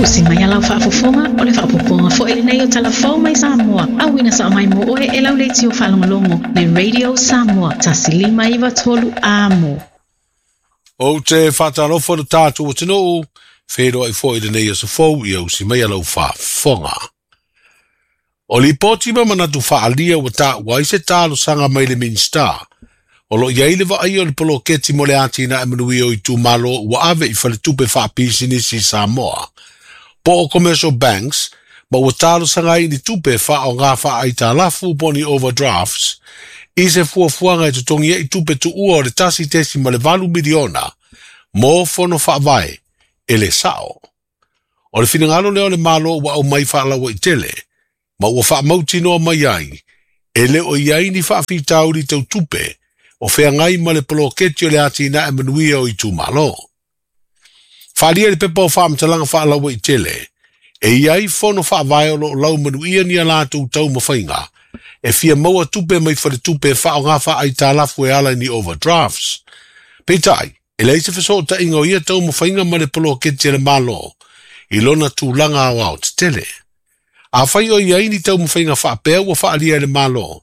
Usi mai a lau faafofoga, o le faaopoopoga foi lenei o Tala Fou mai Samoa, auina sao mai mo oe e lau leitio faalogologo le Radio Samoa 1593 Amo. Ou te faatalofa i lo tatou atunuu, feiloai foi i lenei aso fou ia usi mai a lau faafofoga. O lipoti ma manatu faaalia ua taua ai se talosaga mai le Minisita o lo o i ai le vaaia o le poloketi mo le atinae manuia o itumalo ua ave i faletupe faapisinisi i Samoa po o commercial banks ma ua talosaga ai i ni tupe e faaaoga faaaitalafu po o ni overdrafts i se fuafuaga e totogi ai tupe tuua o le $1.8 miliona mo fono faavae e le sao. O le finagalo lea o le Malo ua aumai faalauaitele ma ua faamautinoa mai ai e le o i ai ni faafitauli tau tupe o feagai ma le poloketi o le atinae manuia o itumalo. Faaalia i le pepa o faamatalaga faalauaitele e i ai fono faavae o lo o laumanuia ni a latou taumafaiga e fia maua tupe mai faletupe e faaaoga faaaitalafu e ala i ni overdrafts. Peitai, e leai se fesootaiga o ia taumafaiga ma le poloketi a le Malo i lona tulaga aoao tetele. Afai o i ai ni taumafaiga faapea ua faaalia e le Malo,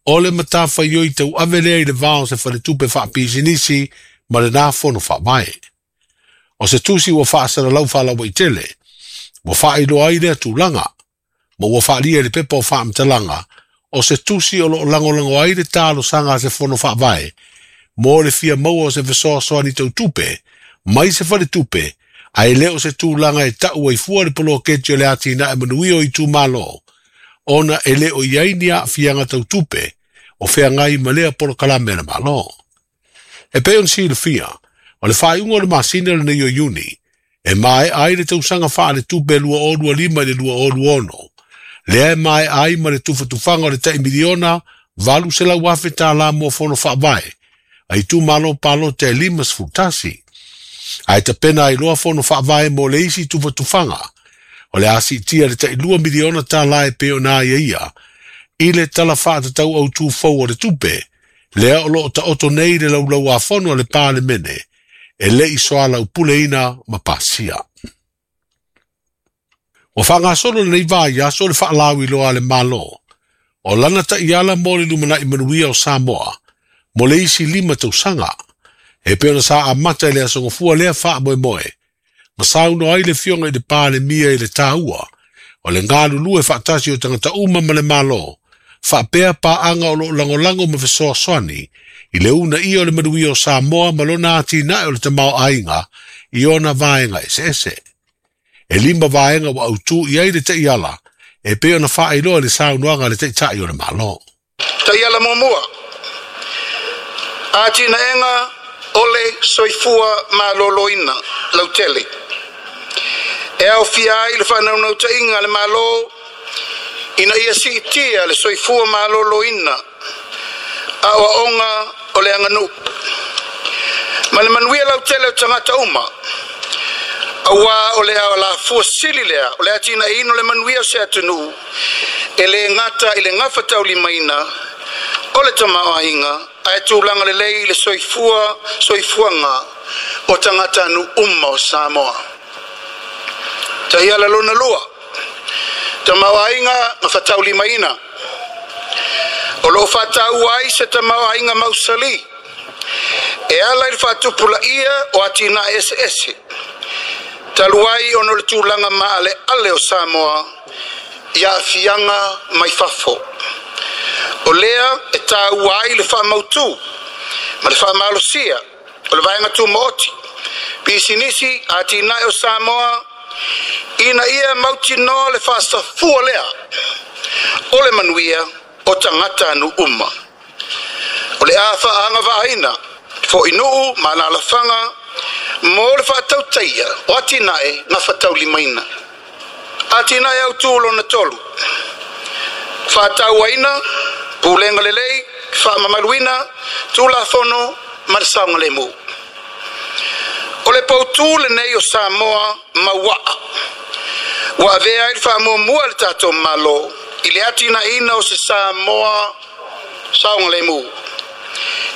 o le matafaioi tauave lea i le va o se faletupe faapisinisi ma lena fono faavae. O se tusi ua faasalalau faalauaitele, ua faailoa ai lea tulaga, ma ua faaalia i le pepa o faamatalaga, o se tusi o lo o lagolago ai le talosaga a se fono faavae mo le fia maua o se fesoasoani tau tupe mai se faletupe, ae le o se tulaga e tau ai fua le poloketi o le atinae manuia o itumalo, ona e le o i ai ni aafiaga tau tupe o feagai ma lea polokalame a le Malo. E pei ona silafia, o le faaiuga o le masina lenei o Iuni, e maea ai le tausaga faaletupe 2025 i le 2026, lea e maea ai ma le tufatufaga o le tai miliona $800,000 mo fono faavae a itumalo palota e 51. Ae tapena ai loa fono faavae mo le isi tufatufaga, o le a siitia le tai $2 miliona e pei ona aiaia i le Tala Faatatau Autu Fou o le Tupe, lea o lo o taoto nei i le laulauafono a le Palemene e le i soalaupuleina ma pasia. Ua faagasolo lenei vaiaso le faalauiloa a le Malo o lana taiala mo le lumanai manuia o Samoa mo le isi 5 tausaga, e pei ona sa amata i le aso Gafua lea faamoemoe, ma saunoa ai le Afioga i le Palemia i le taua o le galulue faatasi o tagata uma ma le Malo, faapea paaga o lo o lagolago ma fesoasoani i le uunaia o le manuia o Samoa ma lona atinae o le tamaoaiga i ona vaega eseese. E 5 vaega ua autū i ai le taiala e pei ona faailoa i le saunoaga a le Taitai o le Malo. Taiala muamua, atinaega o le soifua maloloina lautele. E aofia ai le faanaunautaiga a le Malo ina ia siitia le soifua maloloina aoaoga o le aganuu ma le manuia lautele o tagata uma, auā o le alafua sili lea o le atinaeina o le manuia o se atunuu e le gata i le gafataulimaina o le tamaoaiga ae tulaga lelei i le soifuaga o tagata uma o Samoa. Taiala lona lua, tamaoaiga gafataulimaina. O lo o faataua ai se tamaoaiga mausali e ala i le faatupulaia o atinae eseese, talu ai ona o le tulaga maaleale o Samoa i aafiaga mai fafo. O lea e taua ai le faamautu ma le faamalosia o le vaega tumaoti, pisinisi atinae o Samoa, ina ia mautinoa le faasafua lea o le manuia o tagata anu uma. O le a faaagavaaina foinuu ma alalafaga mo le faatautaia o atinae gafataulimaina. Atinae autū lona 3, faatauaina, pulega lelei, faamamaluina, tulafono ma le saogalemu. O le pautū lenei o Samoa mauaa, ua avea ai le faamuamua le tatou Malo i le atinaeina o se Samoa saogalemu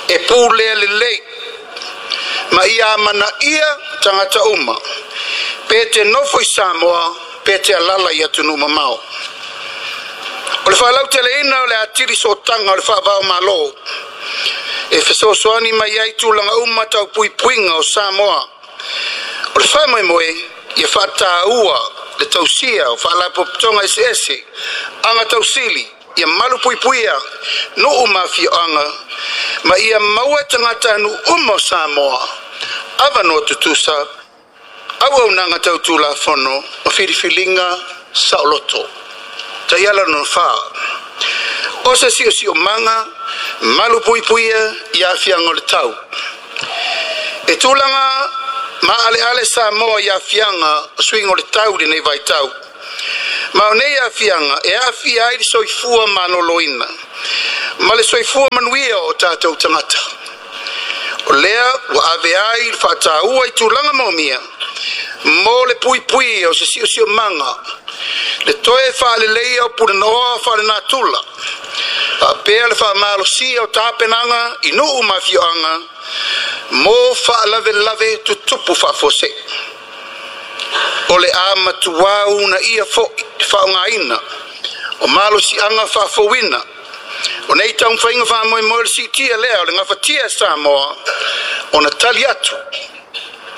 e pulea lelei ma ia amanaia tagata uma Pe te nofo i Samoa, pe te alala i atunuu mamao. O le faalauteleina o le atili sootaga o le faavao malo, e fesoasoani mai ai tulaga uma tau puipuiga o Samoa. O le faamoemoe ia faataua le tausia o faalapotopotoga eseese, aga tausili, ia malu puipuia nuu ma afioaga, ma ia maua tagata nuu uma o Samoa, avanoa tutusa, auaunaga tau tulafono ma filifiliga saoloto. Taiala lona fa. O se siosiomaga malu puipuia i aafiaga o le tau. E tulaga maaleale Samoa i aafiaga o suiga o le tau i lenei vaitau. Ma o nei aafiaga e aafia ai le soifua maloloina ma le soifua manuia o tatou tagata. O lea ua ave ai le faataua i tulaga maomia mo le puipui o se siosiomaga, le toe faaleleia o punanoa faalenatura, faapea le faamalosia o tapenaga i nuu ma afioaga mo faalavelave tutupu faafuasei. O le a matuā uunaia foi le faaaogaina o malosiaga faafouina. O nei taumafaiga faamoemoe o le siitia lea o le gafatia e Samoa ona tali atu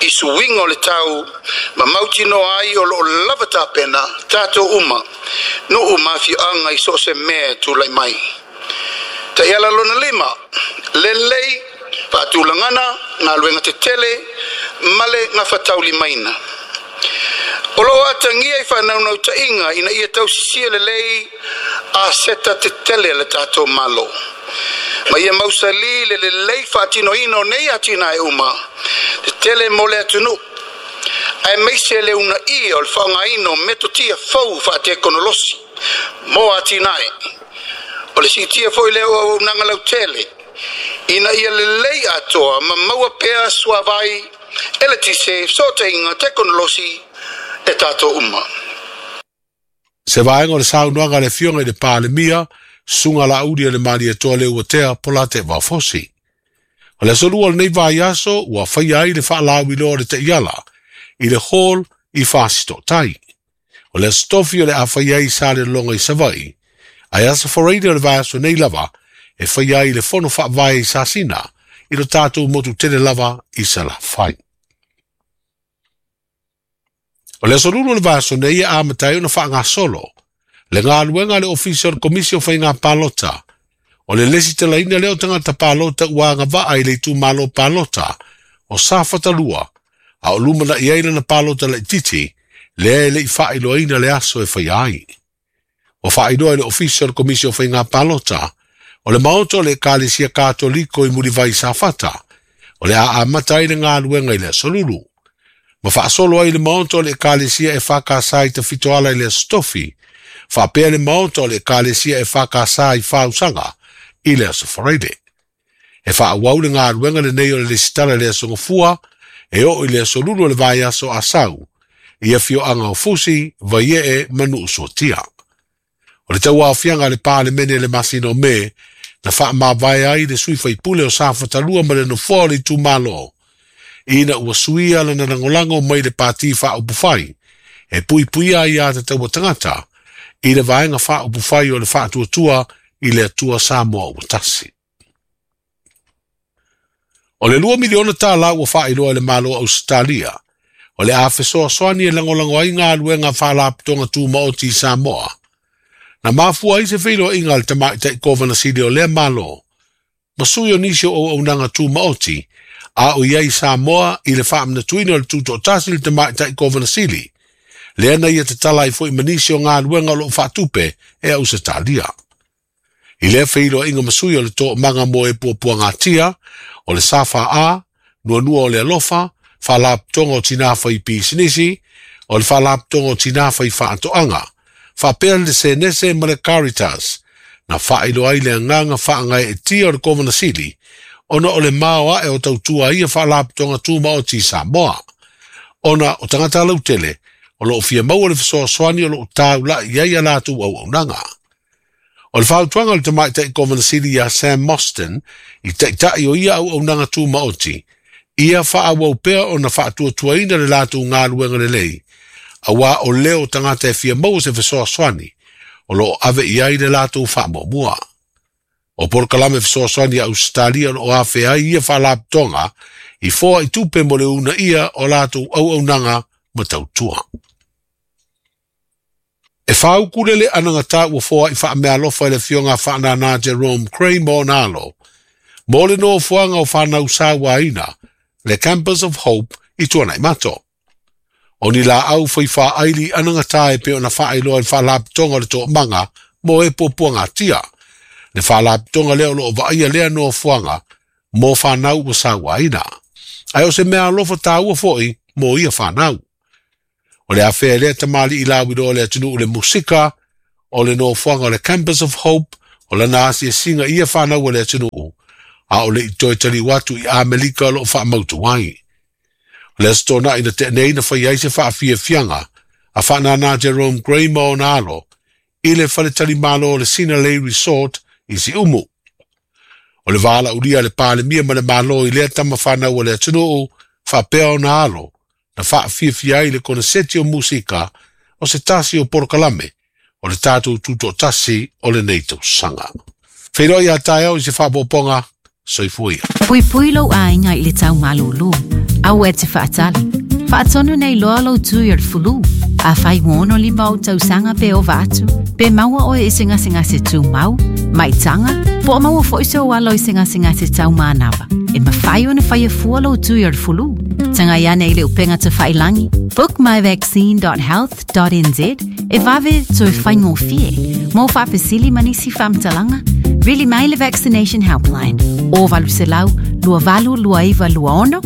i suiga o le tau ma mautinoa ai o loo lava tapena tatou uma, nuu ma afioaga i so o se mea e tulai mai. Taiala lona lima, lelei faatulagana galuega tetele ma le gafataulimaina. O loo atagia i faanaunautaiga ina ia tausisia lelei aseta tetele le tatou Malo, ma ia mausali le lelei faatinoina o nei atinae uma tetele mo le atunuu, aemaise le uunaia o le faaaogaina o metotia fou faatekonolosi mo atinae. O le siitia foi lea o auaunaga lautele ina ia lelei atoa ma maua pea suavai, eletise, fesootaiga tekonolosi e tatou uma. Se vaega o le saunoaga a le Afioga i le Palemia, Susuga Laauli o le Malietoa Leuatea Polataivao Fosi. O le aso lua o lenei vaiaso ua faia ai le faalauiloa o le taiala i le hall i Fasitootai. O le aso tofi o le a faia ai i Salelologa i Savaii, ae aso Faraile o le vaiaso nei lava e faia ai le fono faavae i Sasina i lo tatou motu tele lava i Salafai. O le aso lulu o le vaiaso nei e amata ai ona faagasolo le galuega a le Ofisa o le Komisi o Faiga Palota. O le lesitalaina lea o tagata palota ua agavaa i le itumalo palota o Safata 2, a o lumanai ai lana palota laitiiti lea e le i faailoaina le aso e faia ai. Ua faailoa e le Ofisa o le Komisi o Faiga Palota o le maota o le Ekalesia Katoliko i Mulivai Safata o le a amata ai le galuega i le aso lulu, ma faasolo ai le maota o le Ekalesia EFKS i Tafitoala i le aso tofi, faapea le maota o le Ekalesia EFKS i Fausaga i le aso Faraile. E faaauau le galuega lenei o le lesitala i le aso Gafua e oo i le aso lulu o le vaiaso Asau i afioaga o Fusi, Vaiee ma Nuusuatia. O le tauaofiaga a le Palemene i le masina o Me na faamavae ai le sui faipule o Safata 2 ma le nofoa o le itumalo, ina ua suia lana lagolago mai le Pati Faaupufai e puipuia ai a tataua tagata i le vaega faaupufai o le Faatuatua i le Atua Samoa ua Tasi. O le $2 miliona ua faailoa e le Malo o Ausetalia o le a fesoasoani e lagolago ai galuega faalapotopotoga tumaoti i Samoa. Na mafua ai se feiloaiga a le tamaitai Kovana Sili o lea Malo ma sui o nisi o auaunaga tumaoti a o i ai Samoa i le faamanatuina o le tutoatasi i le tamaitai Kovana Sili, lea na ia tatala ai foi ma nisi o galuega o loo faatupe e Ausetalia. I lea feiloaiga ma sui o le toomaga mo e puapuagatia, o le SFA, Nuanua o le Alofa, Faalapotopotoga o Tinā Fai Pisinisi, o le Faalapotopotoga o Tinā Fai Faatoaga, faapea le Senese ma le Caritas, na faailoa ai le agaga faagaeetia o le Kovana Sili ona o le maoae o tautua ai ia faalapotopotoga tumaoti i Samoa, ona o tagata lautele o loo fia maua le fesoasoani o loo taulai i ai a latou auaunaga. O le fautuaga o le tamaitai Kovana Sili ia Sam Mostyn i taitai o ia auaunaga tumaoti, Ia faaauau pea ona faatuatuaina le latou galuega lelei, auā o leo o tagata e fia maua se fesoasoani o lo o ave i ai le latou faamuamua. O polokalame fesoasoani a Ausetalia o lo o afea ai ia faalapotopotoga i foai tupe mo le uunaia o latou auaunaga ma tautua. E fāukulele anagatā ua foai faameaalofa e le Afioga a Faanana Jerome Crane ma ona alo mo le nofoaga o fanau sauaina, le Campus of Hope i Tuanaimato. O ni laau fai faaili anagatā e pei ona faailoa i le Faalapotopotoga o le Toomaga mo e Puapuagatia. Le faalapotopotoga lea o lo o vaaia lea nofoaga mo fanau ua sauaina. Ae o se meaalofa taua foi mo ia fanau. O le afea e lea tamalii lauiloa o le atunuu i le musika, o le nofoaga o le Campus of Hope, o lana asiasiga i ia fanau a le atunuu, a o le i toe taliu atu i Amerika o lo o faamautu ai. O le Aso Toonai na tea nei na fai ai se faafiafiaga a Faanana Jerome Gray ma ona alo i le faletalimalo o le Sinalei Resort i Siumu. O le valaaulia a le Palemia ma le Malo i lea tama fanau a le atunuu faapea ona alo na faafiafia ai le koneseti o musika o se tasi o polokalame o le tatou tutoatasi o lenei tausaga. Feiloai a taeao i se faaopoopoga. Soifua ia. Puipui lou aiga i le tau malūlū. Aua e te faatali. Faatonu nei loa lou tui o le fulu. Afai ua 65 ou tausaga pe ova atu, pe maua oe i se gasegase tumau, maitaga, po o maua foi sou alo i se gasegase tau manava, e mafai ona faia fua lou tui o le fulu. Tagai ane i le upega tafailagi, bookmyvaccine.health.nz, e vave toe faigofie. Mo faafesili ma nisi faamatalaga, vili mai le Vaccination Helpline o 800 2829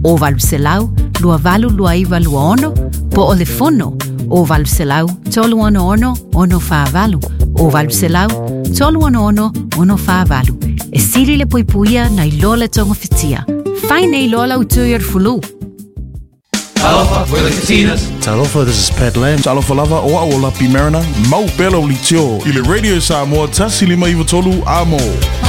26 o 800 2829 26 po o le fono o 800 366 648 o 800 366 648. E sili le puipuia nai lo le togafitia. Fai nei loa lau tui o le fulu. Talofa, we're the Katinas. Talofa, this is Pat Lam. Talofa lava, o au o Lapi Mariner, mau pea lau leitio i le Radio Samoa 1593 Amo.